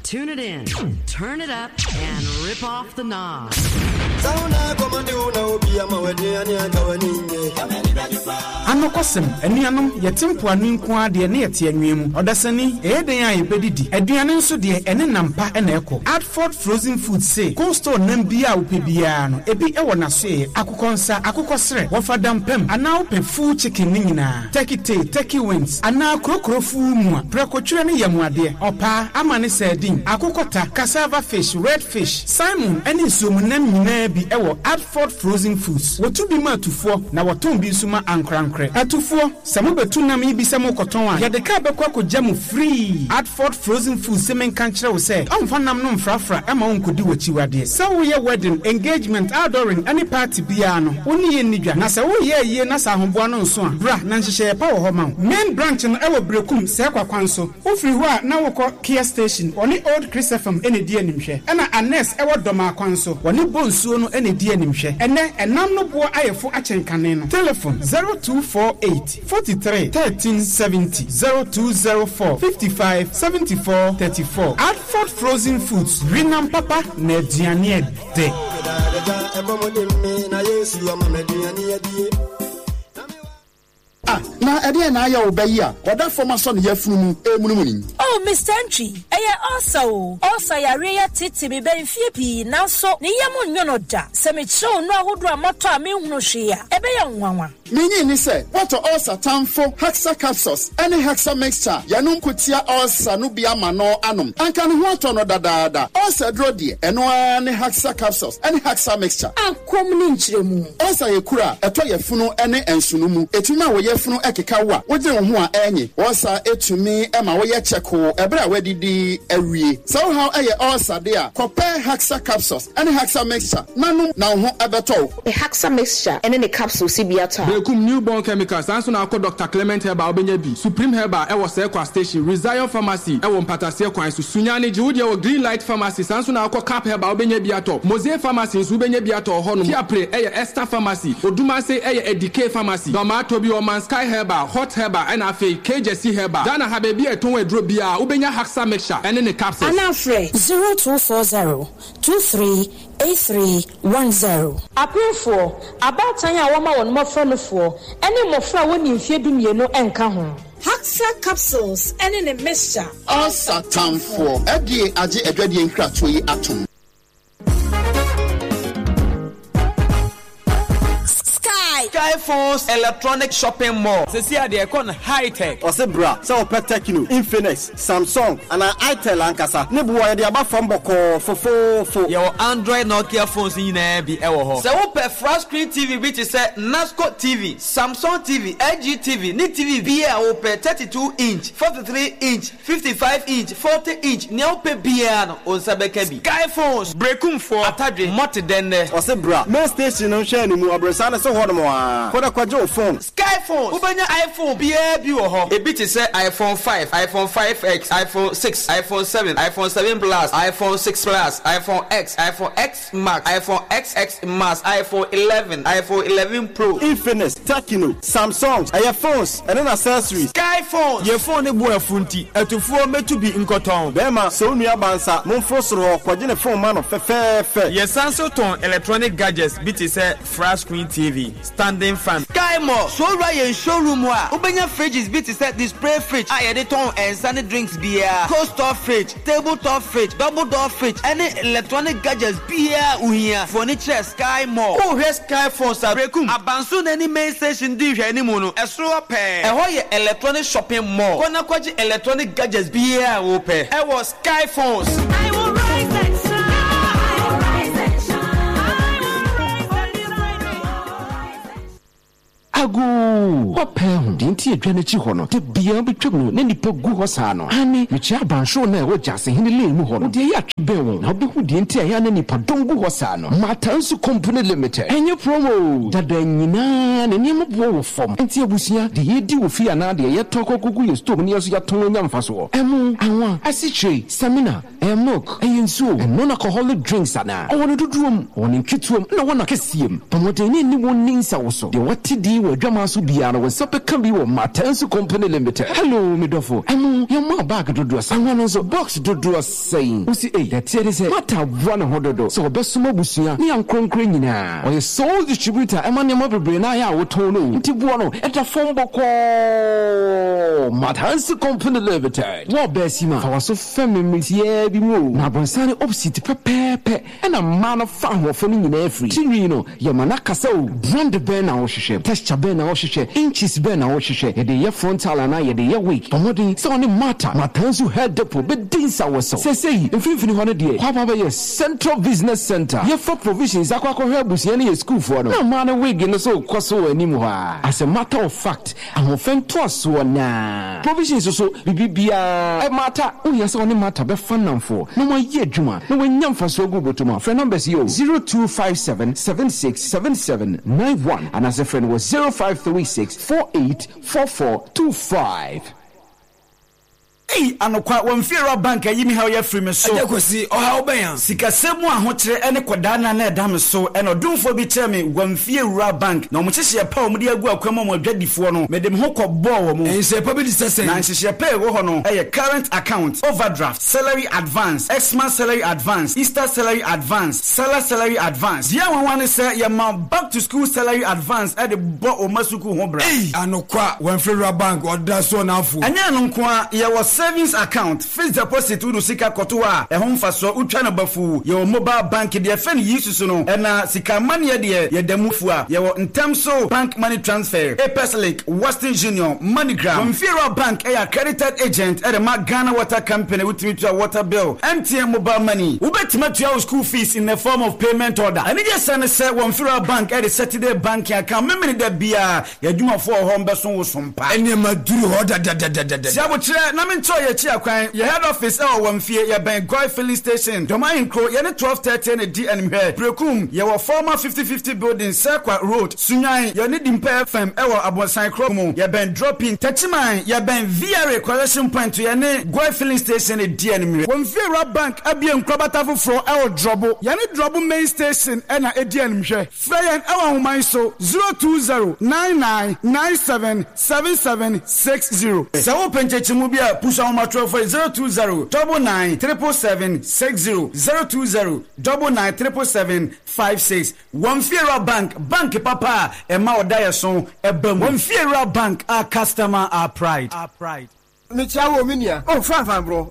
Tune it in, turn it up, and rip off the knob. Anɔkwasɛm, anuanom, yɛte mpoano yi nko ara deɛ na yɛte anwea mu. Ɔdasani, ɛyɛ dɛn a yɛbɛdidi? Aduane nso deɛ, ɛne nam pa na ɛkɔ. Adford Frozen Foods se, cold store nam biara a wopɛ biara no, ebi wɔ n'asoɛeɛ. Akokɔ nsa, akokɔ serɛ, wɔfa dampam, anaa wopɛ full chicken no nyinaa, turkey tail, turkey wings, anaa krokro fuu mua, prɛkotwerɛ ne yamuadeɛ, ɔpaa, amane sardine, akokɔta, cassava fish, red fish, salmon ne nsuomunam nyinaa bi wɔ Adford Frozen Foods. Wɔtu bi ma atufoɔ na wɔtɔn bi nso ma ankorankorɛ. Atufoɔ, sɛ mobɛtu nam yi bi sɛ morekɔtɔn a, yɛde kaa bɛkɔ akɔgya mo free. Adford Frozen Foods se menka nkyerɛ wo sɛ ɔmfa nam no mfrafra mma wonkɔdi w'akyiwadeɛ. Sɛ woreyɛ wedding, engagement, outdooring ne party biara no, wo ne yɛn nni dwa. Na sɛ woreyɛ ayie na sɛ ahoboa no nso a, bra na nhyehyɛeɛ pa wɔ hɔ ma wo. Main branch no wɔ Berekum, Sɛɛkwa kwan so. Wofiri hɔ a na wokɔ Kia Station, wɔne Old Chris FM na ɛdi animhwɛ. Ɛna Annex wɔ Dɔmaa kwan so, wɔne Bonsuo no na ɛdi animhwɛ. Ɛnnɛ, ɛnam no boɔ ayɛ fo akyɛn kane no. Telefon, 0248 43 13 70, 0204 55 74 34. Adford Frozen Foods, we nam papa na aduane ɛdɛ. Ah, na ɛdeɛn na ayɛ wo ba yi a ɔda fam asɔ ne yafunu mu remunumunu yi? Oh, Mister Antwi, ɛyɛ ulcer o. Ulcer yareɛ yi ateetee me bɛ mfeɛ pii, nanso ne yam nnwo no da. Sɛ mekyerɛ wo nnuro ahodoɔ a matɔ a menhunu hwee a, ɛbɛyɛ wo nwanwa. Minnye nni sɛ woatɔ ulcer tamfo Hexa Capsules ne Hexa Mixture a yɛnom ko tia ulcer no bi ama no anom. Anka ne ho atɔ no dadaada. Ulcer aduro deɛ, ɛno ara ne Hexa Capsules ne Hexa Mixture. Akɔm ne nkyerɛmu. Ulcer yɛ kuru a ɛtɔ yafunu ne nsono mu. Ɛtumi ma wo yafunu keka wo a wodwene wo ho a ɛnye. Ulcer tumi ma woyɛ kyɛkoo ɛberɛ a woadidi awie. Sɛ wo haw yɛ ulcer de a, kɔpɛ Hexa Capsules ne Hexa Mixture na nom na wo ho bɛtɔ wo. Pɛ Haxa Mixture ne ne capsules bi atɔ a. Berekum, New Born Chemicals, saa nso na wokɔ Doctor Clement Herbal a wobɛnya bi, Supreme Herbal ɛwɔ Sɛɛkwa Station, Rezion Pharmacy ɛwɔ Mpataseɛ kwan so, Sunyani, gye wo deɛ wɔ Green Light Pharmacy, saa nso na wokɔ Cap Herbal a wobɛnya bi atɔ, Mosey Pharmacy nso wobɛnya bi atɔ wɔ hɔnom, Fiapre ɛyɛ Esther Pharmacy, Odumase ɛyɛ Edikey Pharmacy, Dɔmaa Tobi Ɔman Sky Herbal, Hot Herbal ɛna afei Kegyesi Herbal. Ghana ha baabi a yɛtɔn aduro biara wobɛnya Haxa Mixture ɛne ne capsules. Anaa frɛ 0240 23 8310. Apemfoɔ, abaatan a wɔma wɔn mmɔfra nufoɔ, ne mmɔfra a wɔnni mfeɛ dumienu nka ho. Haxa capsules ne ne mixture. Ulcer tamfoɔ. FDA agye adwadie nkratoɔ yi atom. Sky. Sky Phones Electronic Shopping Mall. Sɛsi a deɛ ɛkɔ no high tech. Ɔse bra sɛ wopɛ Tecno, Infinix, Samsung anaa Itel ankasa ne boɔ yɛde aba fam bɔkɔɔ fofoofo. Yɛwɔ Android Nokia phones nyinaa bi wɔ hɔ. Sɛ wopɛ flat screen TV bi te sɛ Nasco TV, Samsung TV, LG TV ne TV biaa a wopɛ, 32 inch, 43 inch, 55 inch, 40 inch, nea wopɛ biaa no wo nsa bɛka bi. Sky phones, Berekumfoɔ, Atadwe, Mɔte dɛnnɛ. Ɔse bra main station no nhwɛ animu abrɔsan no so hɔ nom aa kɔ na kɔgye wo phone. Sky phones, wobɛnya iPhone biaa bi wɔ hɔ. Ebi te sɛ iPhone 5, iPhone 5X, iPhone 6, iPhone 7, iPhone 7 Plus, iPhone 6 Plus, iPhone X, iPhone X Max, iPhone XX Max, iPhone 11, iPhone 11 Pro. Infinix, Tecno, Samsung, ɛyɛ phones ɛne n'accessories. Sky phones. Yɛ phone no bo afu nti atufoɔ mɛtu bi nkɔtɔn. Bɛɛma, sɛ wo nua ba nsa, momforo soro hɔ kɔgye ne phone ma no fɛfɛɛfɛ. Yɛsan nso tɔn electronic gadgets bi te sɛ flat screen TV, standing fan. Sky Mall, Sɛ wowura yɛn showroom hɔ a, wobɛnya fridges bi te sɛ display fridge a yɛde tɔn nsa ne drinks biara, cold store fridge, table top fridge, double door fridge, ɛne electronic gadgets biara a wohia. Fa w'ani kyerɛ Sky Mall. Worehwɛ Sky Phones a, Berekum, Abansoro no anim main station di nhwɛanimu no, ɛsoro hɔ pɛɛ. Ɛhɔ yɛ electronic shopping mall. Kɔ na kɔgye electronic gadgets biara a wopɛ wɔ Sky Phones. I will rise and shine. I will rise and shine. I will rise and shine. Agoo! Woapɛ ahu deɛ nti a dwa no akyi hɔ no, da biara wobɛtwam no na nnipa gu hɔ saa no? Aane, mekyerɛ abansoro no a ɛwɔ Gyasehene Lane mu hɔ no. Wo deɛ yɛ atwe bɛn wɔn na wobɛhu deɛ nti a ɛyɛ a na nnipadɔm gu hɔ saa no. Matansu Company Limited, ɛnyɛ promo o! Dada nyinaa ne nneɛma boɔ wɔ fam. Enti abusua, deɛ yɛdi wɔ fie anaa deɛ yɛtɔ kɔkɔgu yɛn store mu no yɛn nso yɛatɔn anya mfasoɔ. Ɛmo, anwa, asikyire, samina, Ɛyɛ milk, ɛyɛ nsuo, ɛyɛ non-alcoholic drinks anaa? Ɔwɔ no dodoɔ mu, ɔwɔ no nketewa mu, ɛna ɔwɔ no akɛseɛ mu. Bɔ mmɔden na ɛne wɔn nni nsawoso. Deɛ wate din wɔ. wɔ adwaman so biara no, wo nsa bɛka bi wɔ Matansu Company Limited. Hello, me dɔfo. Ɛno, yɛmaa bag dodoɔ sɛn? Anwa no nso, box dodoɔ sɛn? Wo se, ei, deɛ ɛteɛ ne sɛ, Martha aboa ne ho dodo sɛ ɔbɛsom abusua ne ankorankorɛ nyinaa. Ɔyɛ sole distributor ɛma nneɛma bebree no ara a wotɔn no o, nti boɔ no, ɛda fam bɔkɔɔ. Matansu Company Limited. Wo ɔbaa sima, fa w'aso fɛm me mmere tiaa bi mu o. Na abɔnsan ne opposite pɛpɛɛpɛ ɛna mmaa no fa ahoɔfɛ no nyinaa firi. Ti nwi no, yɛ ma no akasa o. Brand bɛn na wohwehwɛ? Texture bɛn na wohwehwɛ? Inches bɛn na wohwehwɛ? Yɛde yɛ frontal anaa yɛde yɛ wig? Bɔ mmɔden sɛ wo ne Martha, Matanzu Hair Depot bɛdi nsawɔsɛw. Seesei, mfimfini hɔ no deɛ, hɔ aba abɛyɛ Central Business Centre. Yɛfa provisions akɔ akɔhwɛ abusua ne yɛn sukuufoɔ no, na mmaa no wig no nso rekɔ so wɔ anim hɔ ara. As a matter of fact, Ahoɔfɛ ntoasoɔ na. Provisions so biribi biara. Martha, wohia sɛ wo ne Martha bɛfa nnamfoɔ na moayɛ adwuma na woanya mfasoɔ agu wo bɔtɔ mu a, frɛ numbers yi o, 0257 76 77 91 anaasɛ frɛ no wɔ 0536 48 44 25. Ei anokwa, wɔn fiewura bank ayi me haw yi afiri me so. Agya Kwasi, ɔhaw bɛn a? Sikasɛm mu ahokyere ne kɔdaanna na ɛda me so. Ɛna ɔdomfoɔ bi kyerɛɛ me wɔn fiewura bank, na wɔn nhyehyɛeɛ pa a wɔde agu akwan mu ama adwadifoɔ no, mede me ho kɔbɔɔ wɔn. Nhyehyɛeɛ pa bi te sɛ sɛn? Na nhyehyɛeɛ pa a ɛwɔ hɔ no yɛ current account, overdraft, salary advance, Xmas salary advance, Easter salary advance, Sallah salary advance. Deɛ nwanwa ne sɛ yɛma back to school salary advance de bɔ wo mma sukuu ho bra. Ei! Anokwa, wɔn fiewura bank, ɔda so ɔnafo. Ɛnyɛ ɛno nko ara, yɛwɔ savings account, fixed deposit wode wo sika kɔto hɔ a, ɛho mfasoɔ wotwa no bafuu, yɛwɔ mobile bank deɛ yɛfrɛ no Yisusu no, ɛna sika amanneɛ deɛ yɛda mu fua, yɛwɔ ntɛm so bank money transfer, Apex link, Western Union, MoneyGram. Wɔmfiewura Bank yɛ accredited agent de ma Ghana Water Company, wotumi tua water bill, MTN mobile money. Wobɛtumi atua wo school fees in the form of payment order. Anigyesɛm ne sɛ Wɔmfiewura Bank de Saturday banking account Memeneda biara. Yɛn adwumafoɔ wɔ hɔ mbɛso wo so mpa. Nneɛma duru hɔ dadadadadada. Si abokyerɛ na menkyerɛw yɛn akyi akwan. Yɛn head office wɔ Wamfie, yɛbɛn Goy filling station, Dɔm Ahenkuro, yɛne 12:30 na ɛdi animhwɛ. Berekum, yɛwɔ former 50/50 building, Serkwa road, Sunyani, yɛne Dimpa FM wɔ Abonsan kuro mu, yɛbɛn Dropping, Techiman, yɛbɛn VRA collection point, yɛne Goy filling station na ɛdi animhwɛ. Wamfie Bank abue nkorabata foforɔ wɔ Drɔbo, yɛne Drɔbo main station na ɛdi animhwɛ. Frɛ yɛn wɔ ahoma yi so, 020 99 97 77 60. Sɛ wopɛ nkyɛkyɛmu bi a, pusu ahomatorofo yi, 020 99 777 60, 020 99 777 56. Wɔn Fiewura Bank, bank papa a ɛma ɔdaeɛso ba mu. Wɔn Fiewura Bank, our customer, our pride. Mekyia wo o, me nua. Oh, fine, fine, bro.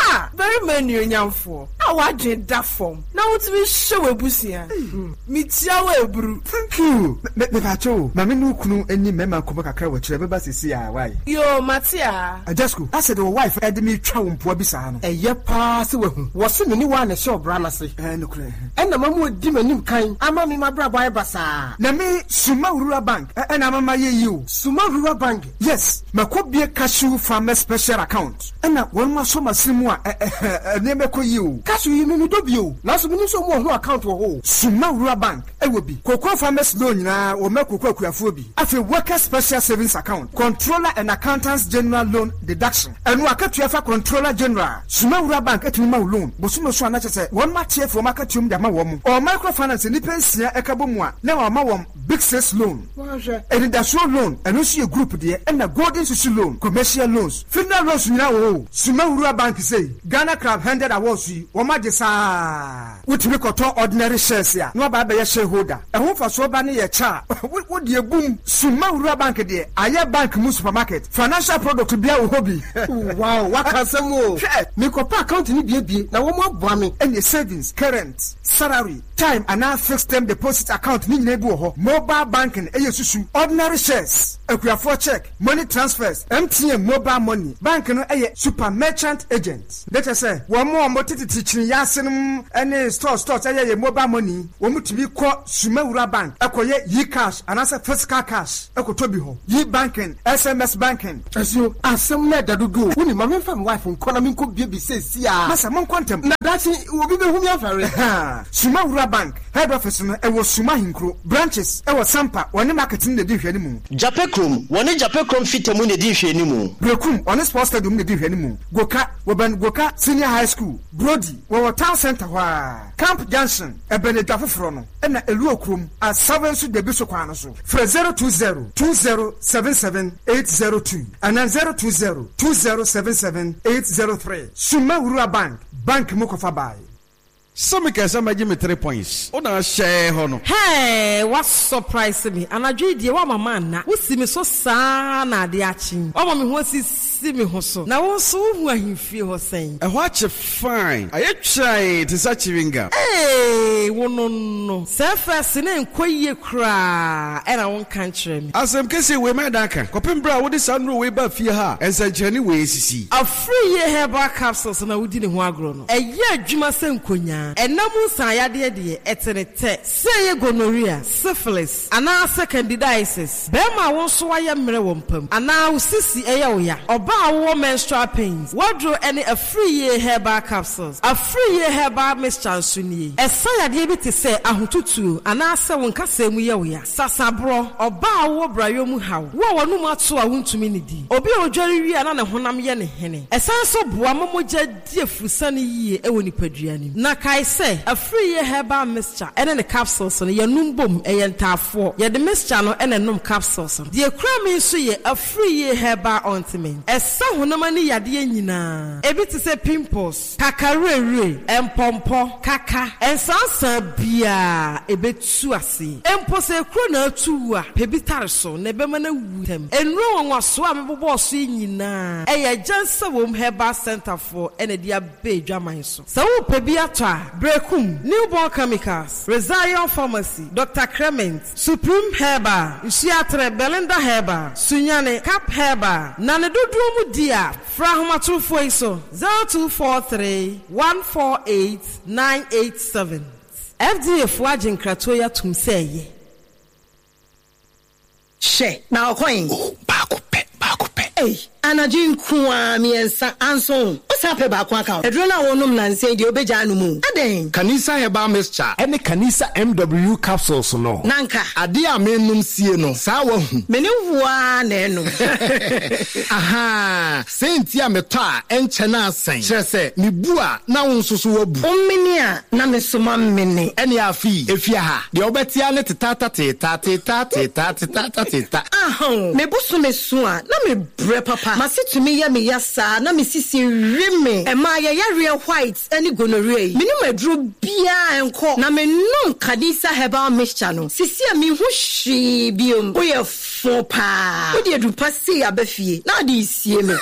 Ah, barima anuonyamfoɔ a w'adwene da fam na wotumi hwɛ w'abusua. Hmm, mekyia wo aburu. Thank you. Me, mepakyɛ o, ma me ne wo kunu nni mmarima nkɔmmɔ kakra wɔ akyire, ɛbɛba seesei ara, wai? Yoo, mate aa. Ajasco, asɛ deɛ wo wife de me retwa wo mpoa bi saa no. Ɛyɛ paa sɛ wahu. Wɔse me ne wo a na ɛhyɛ ɔbra no ase. Ɛɛ, nokorɛ. Ɛna mama wadi m'anim kan ama me m'abrabɔ ayɛ basaa. Na me, Suma Rural Bank ɛna ama mayɛ yie o. Suma Rural Bank? Yes, makɔ bue cashew farmers special account ɛna wɔnom asɔ masene mu a ɛ nneɛma ɛkɔ yie o. Cashew yi me medɔ bi o, nanso menim sɛ ɔmo wɔ ho account wɔ hɔ o. Suma Rural Bank ɛwɔ bi, cocoa farmers loan nyinaa wɔma cocoa akuafoɔ bi, afei workers special savings account, controller and accountants general loan deduction, ɛno akatua fa controller general, Suma Rural Bank ɛtumi ma wo loan bosome so a na kyerɛ sɛ wɔnom ate afi wɔn akatua mu de ama wɔn, ɔwɔ microfinance nnipa nsia ɛka bɔ mu a na wɔama wɔn Big Six Loan, Anidasoɔ Loan, ɛno nso yɛ group deɛ, ɛna Golden Susu Loan, Commercial Loans, Funeral Loans nyinaa wɔ hɔ o. Suma Rural Bank sei, Ghana Crowd Handed Awards yi, wɔn agye saa. Wotumi kɔtɔ ordinary shares a, na waba abɛyɛ shareholder. Ɛho mfasoɔ ba ne yɛ kyɛ a, wo deɛ bum. Suma Rural Bank deɛ, ayɛ bank mu supermarket. Financial product biara wɔ hɔ bi. Wow, waka asɛm o. Hwɛ! Mekɔpɛ account no bi abue na wɔn aboa me. Ɛneɛ savings, current, salary, Time anaa fixed term deposit account ne nyinaa bi wɔ hɔ. Mobile banking yɛ susu, ordinary shares, akuafoɔ cheque, money transfers, MTN mobile money. Bank no yɛ super merchant agent. Deɛ kyerɛ sɛ wɔn a wɔtetete kyiniiɛ ase nom ne stores stores yɛ yɛ mobile money, wɔn tumi kɔ Sumawura bank kɔyɛ e-cash anaasɛ physical cash kɔtɔ bi hɔ. E-banking, SMS banking. Asuo, asɛm no ɛda dodo o. Wonim, ma memfa me wife nkɔ na menkɔ bie bi seesei ara. Masa, monkɔ ntɛm. Na daakye obi bɛhu me afɛre. Ɛhaa, Sumawura bank. Head office no ɛwɔ Suma Ahenkuro. Branches ɛwɔ Sampa, wɔne market no na ɛdi nhwɛanimu. Jape Kurom, wɔne Jape Kurom Fita mu na ɛdi nhwɛanimu. Berekum, wɔne Sports Stadium na ɛdi nhwɛanimu. Goka, wɔbɛn Goka Senior High School. Brody, wɔwɔ Town Centre hɔ ara. Camp Junction, ɛbɛn Adwa Foforɔ no, ɛna Eluo Kurom, Asave nso da bi so kwan no so. Frɛ 020 2077 802 anaa 020 2077 803. Summa Wura Bank, bank mu kɔfa bae. Sɛ mekae sɛ mɛgye me tre points wo na ahyɛɛ hɔ no. Hey, wa surprise me anadwo yi deɛ woama manna, wo si me so saa na adeɛ akye yi, woama me ho asisi me ho so, na wo nso wo hu ahemfie hɔ sɛn? Ɛhɔ akye fine, ayɛ twann te sɛ chewing gum. Hey, wo no no, sɛ first no ɛnkɔ yie koraa ɛna wo nka nkyerɛ me. Asɛm kɛseɛ wei mɛdan aka kɔpem berɛ a wode saa nnuro wei baa fie ha a nsɛnkyerɛnne wei asisi. Afiri yie herbal capsules na wodi ne ho agorɔ no. Ɛyɛ adwuma sɛ nkonyaa. Ɛna mu nsaeyadeɛ deɛ, ɛte ne tɛ. Sɛ ɛyɛ gonorrhea, syphilis, anaasɛ candidiasis, barima a wo nso woayɛ mmerɛ wɔ mpa mu, anaa wo sisi yɛ wo ya, ɔbaa a wowɔ menstrual pains, w'aduro ne Afriyie Herbal Capsules. Afriyie Herbal Mixture nso nie. Ɛsa yadeɛ bi te sɛ ahotutuo anaasɛ wo nkasɛɛ mu yɛ wo ya, sasaborɔ, ɔbaa a wowɔ brayɔ mu haw, wo a w'anum ato a wontumi nnidi, obi a ɔdware wie a na ne honam yɛ no hene. Ɛsan nso boa ma mogya Di afurusiane yie wɔ nipadua no mu. Na kae sɛ, Afriyie Herbal Mixture ne ne capsules no, yɛnom bom, ɛyɛ ntaafoɔ. Yɛde mixture no na ɛnom capsules no. Deɛ ɛkura me nso yɛ Afriyie Herbal Ointment. Ɛsa honam ani yadeɛ nyinaa, ebi te sɛ pimples, kakawerɛwerɛ, mpɔmpɔ, kaka, nsansaa biara, ɛbɛtu aseɛ. Mpo sɛ ekuro na atu wo a, pɛ bi tare so na ɛbɛma no awu ntɛm. Nnuro nwanwasoɔ a mebobɔɔ so yi nyinaa, ɛyɛ Agyansawom Herbal Centre foɔ na ɛde aba adwaman so. Sɛ worepɛ bi atɔ a, Berekum, Newborn Chemicals, Rezion Pharmacy, Doctor Clement, Supreme Herbal, Nsuaterɛ, Belinda Herbal, Sunyani, Cap Herbal, na ne dodoɔ mu di a, frɛ ahomatorofoɔ yi so, 0243 148 987. FDA foɔ agye nkratoɔ yi atom sɛ ɛyɛ. Hwɛ, na ɔkɔ he? Oh, baako pɛ, baako pɛ. Ei, anadwo yi nko ara, miɛnsa, anso wo san pɛ baako aka ho. Aduro no a wonom nnansa yi deɛ, wobɛgyaa anom o. Adɛn? Kanisa Herbal Mixture ne Kanisa MW Capsules no. Na anka. Adeɛ a menom sie no, saa woahu. Me ne wo ara na ɛnom. Ahaa, sei nti a metɔ a ɛnkyɛ na asɛn. Kyerɛ sɛ, mebu a na wo nso so woabu. Womene a na me nso mamene. Ɛnneɛ afei, efie ha, deɛ wobɛte ara ne tetaata teeta, teeta teeta, tetaata teeta. Ahaa, me bosome so a na mebrɛ papa. M'ase tumi yɛ me ya saa na me sisi we me. Ɛmaa yɛyareɛ white ne gonorrhea yi. Menom aduro biara ɛnkɔ. Na menom Kadisa herbal mixture no, sisi a menhu hwee biom. Woyɛ Fo paa. Wode aduru pa sei aba fie na wode resie me.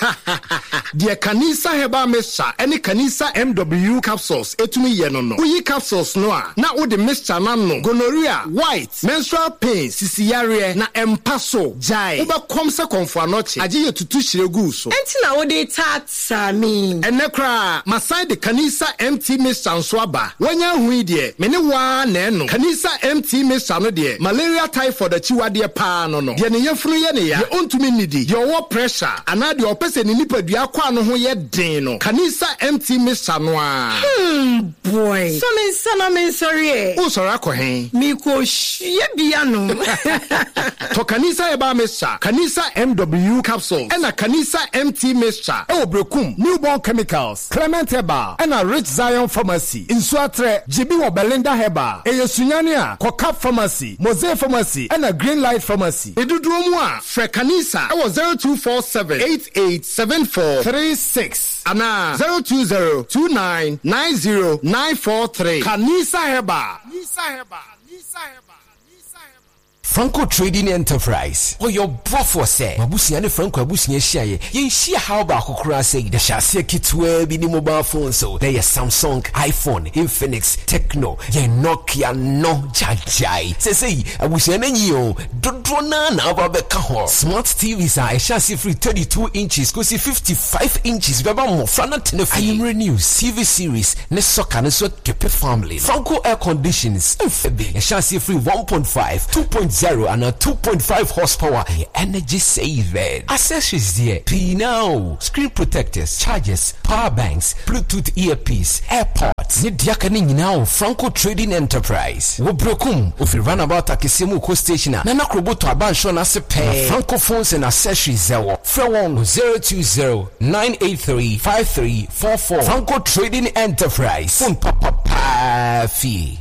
Deɛ Kanisa Herbal Mixture ne Kanisa MW Capsules tumi yɛ no no, woyi capsules no a, na wode mixture no anom. Gonorrhea, white, menstrual pain, sisi yareɛ, na ɛmpa so. Gyae, wobɛkɔm sɛ kɔmfo anɔkye, agye yɛ tutu hyire gu wo so. Enti na wode retaataa me yi? Ɛnnɛ koraa, masan de Kanisa MT Mixture nso aba. Woanya ahu yi deɛ, me ne wo ara na ɛnom. Kanisa MT Mixture no deɛ, malaria typhoid akyiwadeɛ paa no no. Deɛ ne yafunu yɛ ne ya, deɛ ɔntumi nnidi, deɛ ɔwɔ pressure, anaa deɛ ɔpɛ sɛ ne nipadua akwaa no ho yɛ den no, Kanisa MT Mixture no ara. Hmm boy, sɔ me nsa na mensɔre ɛ. Woresɔre akɔ he? Merekɔhwie bi anom. Tɔ Kanisa Herbal Mixture, Kanisa MW Capsules, ɛna Kanisa MT Mixture wɔ Berekum, Newborn Chemicals. Clement Herbal ɛna Rich Zion Pharmacy, Nsuatrɛ, gye bi wɔ Belinda Herbal, ɛyɛ Sunyani a, kɔ Cap Pharmacy, Mosaic Pharmacy ɛna Green Light Pharmacy. Ne dodoɔ mu a, frɛ Kanisa wɔ 0247 88 74 36 anaa 020 29 90 943. Kanisa Herbal. Franco Trading Enterprise, Ɔyɛ ɔboafoɔ sɛ m'abusua ne Franco abusua hyiaeɛ, yɛnhyia haw baako koraa sɛi. Yɛhyɛ aseɛ ketewaa bi ne mobile phones so, na ɛyɛ Samsung, iPhone, Infinix, Tecno, yɛn Nokia no gyagyae. Seesei abusua no anyin oo, dodoɔ no ara na aba abɛka ho. Smart TVs a ɛhyɛ aseɛ firi 32 inches kɔsi 55 inches bɛba mmɔfra no atena fie. Anwummerɛ news, TV series, ne soccer no nso akepe family no. Franco air conditions mfɛ bi. Ɛhyɛ aseɛ firi 1.5, 2.0. 2.0 anaa 2.5 horsepower, ɛyɛ energy saving. Accessories deɛ, pii no ara o, screen protectors, chargers, power banks, Bluetooth earpiece, airpods, ne deɛ aka no nyinaa wɔ Franco Trading Enterprise. Wɔ Berekum, wofiri Runabout akɛseɛ mu rekɔ station a, Nana Krobo tɔ abansoro no ase pɛɛ na Franco Phones and Accessories wɔ. Frɛ wɔn wɔ 020 983 5344. Franco Trading Enterprise, phone papa paa fie.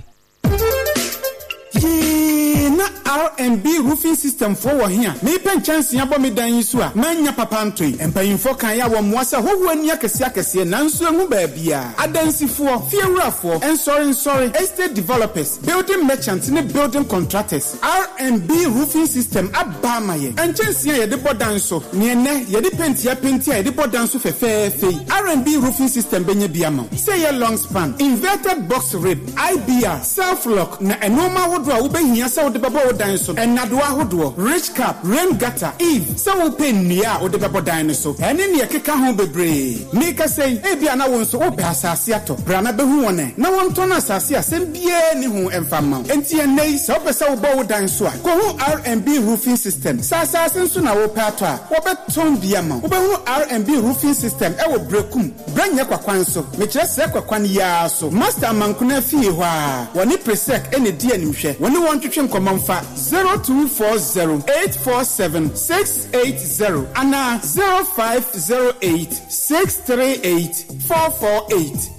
Yee na RNB roofing system foɔ wɔ he a meepɛ nkyɛnsee abɔ me dan yi so a mannya papa ntoe. Mpanyimfoɔ kaeɛ a wɔmmoa sɛ hɔhoɔ ani akɛseɛ akɛseɛ nanso ɛnhu baabiaa. Adansifoɔ, fiewurafoɔ, nsɔre nsɔre, estate developers, building merchants ne building contractors, RNB roofing system aba ama yɛn. Nkyɛnsee a yɛde bɔ dan so, ne ɛnnɛ yɛde penti apenti a yɛde bɔ dan so fɛfɛɛfɛ yi, RNB roofing system bɛnya bi ama wo. Sɛ ɛyɛ long span, inverted box rib, IBR, self lock, na nnoɔma ahodoɔ a wobɛhia sɛ wode bɛbɔ wo dan so no, nnadewa ahodoɔ, ridge cap, rain gutter, eave, sɛ wopɛ nnua a wode bɛbɔ dan no so, ɛne nea ɛkeka ho bebree. Merekasa yi, ebia na wo nso wopɛ asase atɔ. Bra na bɛhu wɔn ɛ, na wɔntɔn asase a asɛm biara nni ho mfa mma wo. Enti ɛnnɛ yi, sɛ wopɛ sɛ wobɔ wo dan so a, kɔhu RNB Roofing System. Sɛ asase nso na wopɛ atɔ a, wɔbɛtɔn bi ama wo. Wobɛhunu RNB Roofing System wɔ Berekum, Brɛnyɛ kwakwan so, mekyerɛ srɛ kwakwan yi ara so, Master Amankona fie hɔ ara. Wɔne Presec na ɛdi animhwɛ. Wo ne wɔn ntwetwe nkɔmmɔ mfa 0240 847 680 anaa 0508 638 448.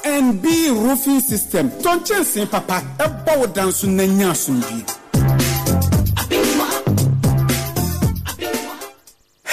RNB Roofing System, tɔ nkyɛnsee papa bɔ wo dan so na nya asomdwie.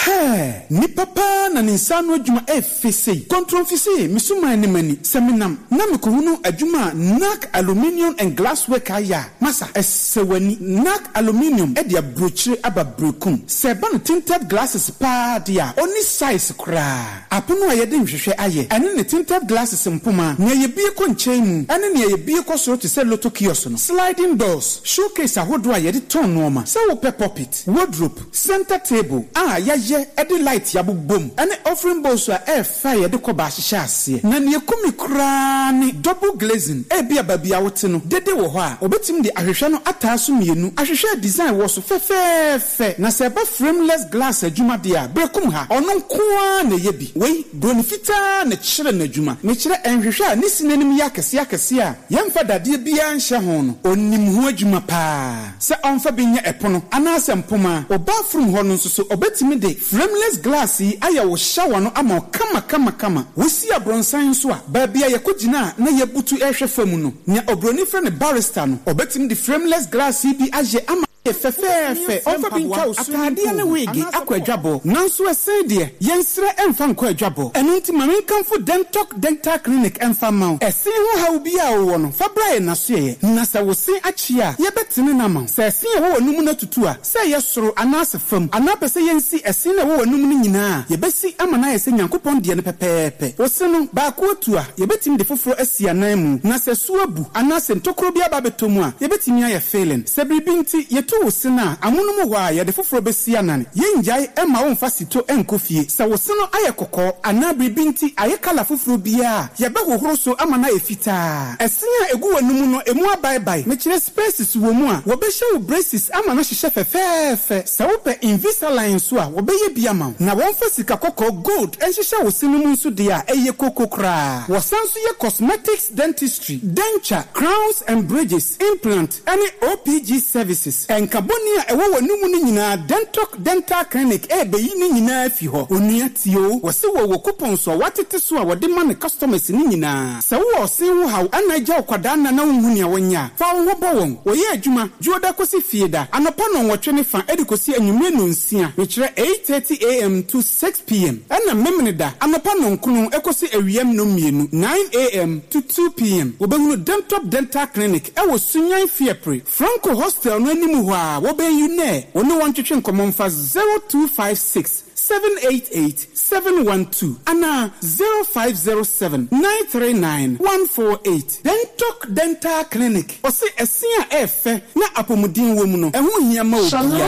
Hɛɛ! Nipa paa na ne nsa ano adwuma ɛɛfɛ sei. Kontromfi se me suman ne m'ani sɛ menam na mekohunu adwuma a Nac Aluminium and Glass Work ayɛ a, masa, ɛsɛ w'ani. Nac Aluminium de aburokyire aba berekum. Sɛ ɛba no tinted glasses paa deɛ a, ɔnni size koraa. Apono a yɛde nhwehwɛ ayɛ, ɛne ne tinted glasses mpoma, nea yɛbue kɔ nkyɛn mu ne nea yɛbue kɔ soro te sɛ lotto kiosk no, sliding doors, showcase ahodoɔ a yɛde tɔn nnoɔma, sɛ wopɛ pulpit, wardrobe, Center table a yɛayɛ de light abobom ne offering bowls a ɛyɛ fɛ a yɛde kɔba ahyehyɛ aseɛ. Na nea ɛku me koraa ne double glazing. Ebia baabi a wote no, dede wɔ hɔ a, wɔbɛtumi de ahwehwɛ no ataa so mmienu. Ahwehwɛ a design wɔ so fɛfɛɛfɛ. Na sɛ ɛba frameless glass adwuma deɛ a, Berekum ha, ɔno nko ara na ɛyɛ bi. Wei, Buroni fitaa na ɛkyerɛ no adwuma. Mekyerɛ nhwehwɛ a ne sini anim yɛ akɛseɛ akɛseɛ a yɛmfa dadeɛ biara nhyɛ ho no, ɔnim ho adwuma pa ara. Sɛ ɔmfa bi nyɛ ɛpono anaasɛ mpoma a, wɔ bathroom hɔ no nso so ɔbɛtumi de frameless glass yi ayɛ wo shower no ama wo kama kama kama. Wosi abrɔnsan nso a, baabi a yɛkɔgyina a na yɛbutu rehwɛ fam no, nea obroni frɛ no barrister no, ɔbɛtumi de frameless glass yi bi ayɛ ama ayɛ fɛfɛɛfɛ. Ɔmfa bi ntwa wo swimming pool ataadeɛ ne wig akɔ adwabɔ, nanso ɛsɛn deɛ, yɛnsrɛ mfa nkɔ adwabɔ. Ɛno nti ma menkamfo Dentoc Dental Clinic mfa mma wo. Ɛsen ho haw biara a wowɔ no, fa bra yɛn asoɛeɛ, na sɛ wo se akye a, yɛbɛtene no ama wo. Sɛ ɛse a ɛwɔ w'anomu no atutu a, sɛ ɛyɛ soro anaase fam, anaa pɛ sɛ yɛnsi ɛse no a ɛwɔ w'anomu no nyinaa a, yɛbɛsi ama no ayɛ sɛ Nyankopɔn deɛ no pɛpɛɛpɛ. Wo se no, baako atu a, yɛbɛtumi de foforɔ asi anan mu, na sɛ su abu anaasɛ ntokuro bi aba abɛtɔ mu a, yɛbɛtumi ayɛ filling. Sɛ biribi nti yɛtu wo se no a, amonom hɔ ara yɛde foforɔ bɛsi anan. Yɛnnyae mma womfa sito nkɔ fie. Sɛ wo se no ayɛ kɔkɔɔ anaa biribi nti ayɛ kala foforɔ biara a, yɛbɛhohoro so ama no ayɛ fitaa. Ɛse a ɛgu w'anomu no, ɛmu abaebae, mekyerɛ spaces wɔ mu a, wɔbɛhyɛ wo braces ama no ahyehyɛ fɛfɛɛfɛ. Sɛ wopɛ Invisalign nso a, wɔbɛyɛ bi ama wo. Na wɔmfa sika kɔkɔɔ, gold, nhyehyɛ wo se no mu nso deɛ a, ɛyɛ koko koraa. Wɔsan nso yɛ cosmetics dentistry, denture, crowns and bridges, implant, ne OPG services. Nka bɔne a ɛwɔ w'anomu no nyinaa Dentoc Dental Clinic rebeyi ne nyinaa afi hɔ. Onua tie o, wɔse wɔwɔ coupons a wɔatete so a wɔde ma ne customers no nyinaa. Sɛ wowɔ ɔsen ho haw ɛna agya wo kwadaa nna na wonhu nea wɔnyɛ a, fa wo ho bɔ wɔn. Wɔyɛ adwuma Dwoda kosi Fieda, anɔpa nnɔnwɔtwe ne fa de kosi anwummere nnɔnsia, mekyerɛ 8:30 AM to 6 PM, ɛna Memeneda anɔpa nnɔnkron kosi awia nnɔnmienu, 9 AM to 2 PM. Wobɛhunu Dentop Dental Clinic wɔ Sunyani Fiapre, Franco Hostel no anim hɔ ara, wɔbɛn UNER. Wo ne wɔn ntwetwe nkɔmmɔ mfa 0256 788 712 anaa 0507 939 148. Dentoc Dental Clinic, ɔse ɛse a ɛyɛ fɛ na apɔmuden wɔ mu no, ɛho hia ma obiara. Shalom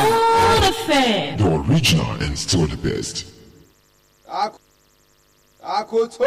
FM. The original and still the best. Akoto.